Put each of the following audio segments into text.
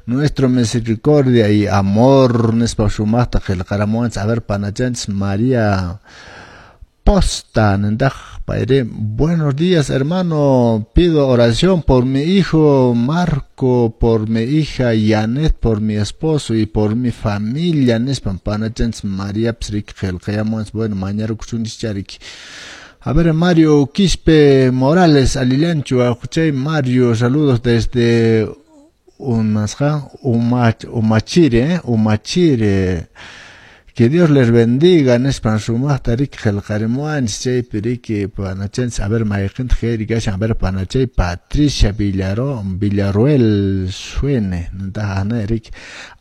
Nuestro misericordia y amor nispa sumaqta qillqaramuwanchis. A ver, panachanchis María Posta nintaq payri. Buenos días, hermano, pido oración por mi hijo Marco, por mi hija Yanet, por mi esposo y por mi familia nispan panachanchis Mariapas riki qillqayamuwanchis. Bueno, mañarukusunchis riki. A ver, Mario Quispe Morales, alillanchu wawqichay Mario, saludos desde umasqa Umachire, Umachire. Que Dios les bendiga nispan sumaqta riki qillqarimuwanchis chaypi riki panachanchis. A ver, mayqintaq kayri kashan? A ver, panachay Patricia Villaruel Suene nintaq riki.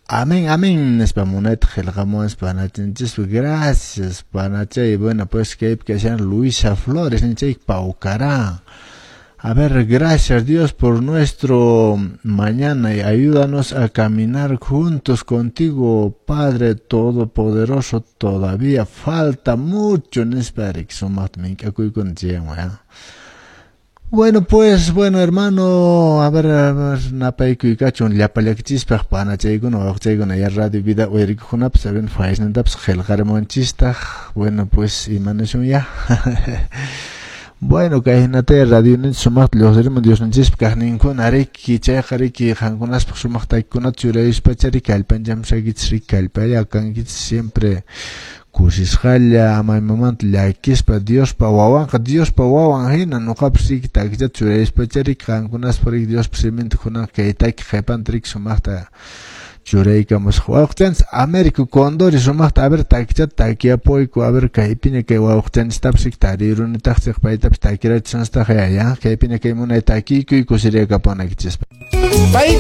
Amén, amén nispa munayta qillqamuwanchis panachanchis. Gracias, panachay. Bueno, pues kaypi kashan Luisa Flores nichay Paucará. A ver, gracias, Dios, por nuestro mañana y ayúdanos a caminar juntos contigo, Padre Todopoderoso. Todavía falta mucho nispa riki sumaqta mink'akuykuna chayamun. Bueno, pues, bueno, hermano, a ver, napaykuykachun llapallakchispaq panachaykuna, wawqichaykuna, ya Radio Vida uyarikuqkunapas, a ver, faysnintapas qillqarimuwanchistaq. Bueno, pues, imanashun ya. Bueno, kay hinataya radio ninchis sumaqta lluqsirimun Diosninchispa kaqninkuna riki, chayqa riki qankunaspaq sumaq takikunata churayuspacha riki kallpanchamusaykichis riki, kallpalla kankichis siempre kusisqalla, ama imamanta llakispa, Diospa wawanqa Diospa wawan hina nuqapas riki takichata churayuspacha riki qankunaspaq riki Diospa siminta kunanqa kay taki qhipanta riki sumaqta churaykamusaq. Wawqichanchis Américo Condori sumaqta, a ver, takichata takiapuyku, a ver, kaypiña kay wawqichanchistapas riki tarirunitaqchik paytapas takirachisunstaq ya, kaypiña kay munay takiykuy kusiriyakapunaykichispaq. Pay